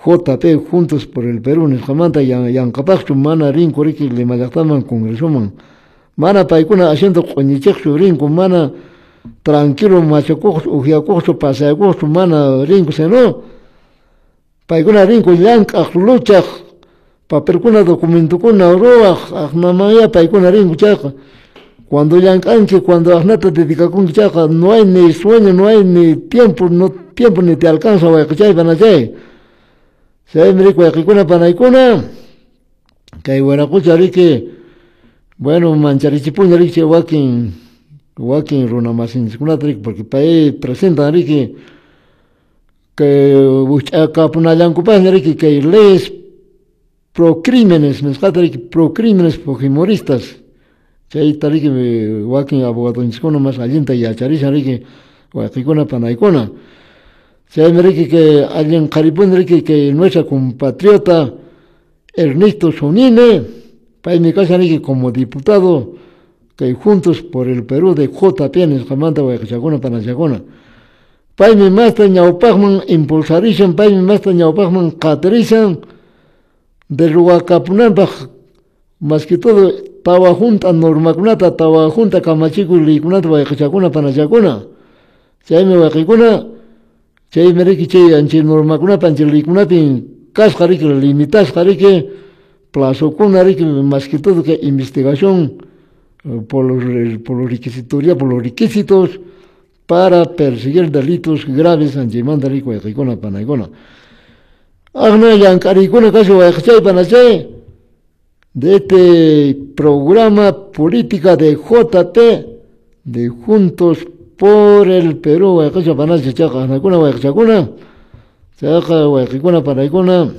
JP Juntos por el Perú nisqamanta yanqapaqchu mana rinku riki Lima llaqtaman congresoman, mana paykuna asiento q'uñichiqchu rinku, mana tranquilo machakuqchu, upyakuqchu, paseakuqchu mana rinku, sino paykuna rinku llank'aq, luchaq, papelkuna, documentokuna ruwaq, aqnamanya paykuna rinku chayqa. Cuando llank'anki, cuando aqnata dedicakunki chayqa, no hay ni sueño, no hay ni tiempo, no tiempo ni te alcanza, wayqichay, panachay. Chaymi riki wayqikuna, panaykuna, kay wiraqucha riki, bueno, mancharichipuña riki chay wakin runa masinchikkunata riki, porque pay presentan riki kay wikch'akapunallankupaqña riki kay leyes pro crímenes nisqata riki, pro crímenes fujimoristas, chayta riki wakin abogadonchiskuna mas allinta yacharishan riki, wayqikuna, panaykuna. Chaymi riki que allin qharipuni riki kay nuestra compatriota Ernesto Zunini, paymi kashan riki como diputado kay Juntos por el Perú de JP nisqamanta, wayqichakuna, panachakuna. Paymi masta ñawpaqman impulsarishan, paymi masta ñawpaqman qatirishan de ruwakapunanpaq, más que todo tawa junta normakunata, tawa junta kamachikuy leykunata, wayqichakuna, panachakuna. Chaymi wayqikuna, chaymi riki chay anchay normakunapa, anchay leykunapin kasqa riki, limitasqa riki, plazokuna riki, más que todo que investigación por los requisitos, por los requisitos para perseguir delitos graves anchaymanta riki, wayqikuna, panaykuna. Aqna llank'ariykuna kashan, wayqichay, panachay, de este programa política de JP de Juntos por el Perú, wayqicha, panacha, chayqa aqnakuna, wayqichakuna, chayqa wayqikuna, panaykuna.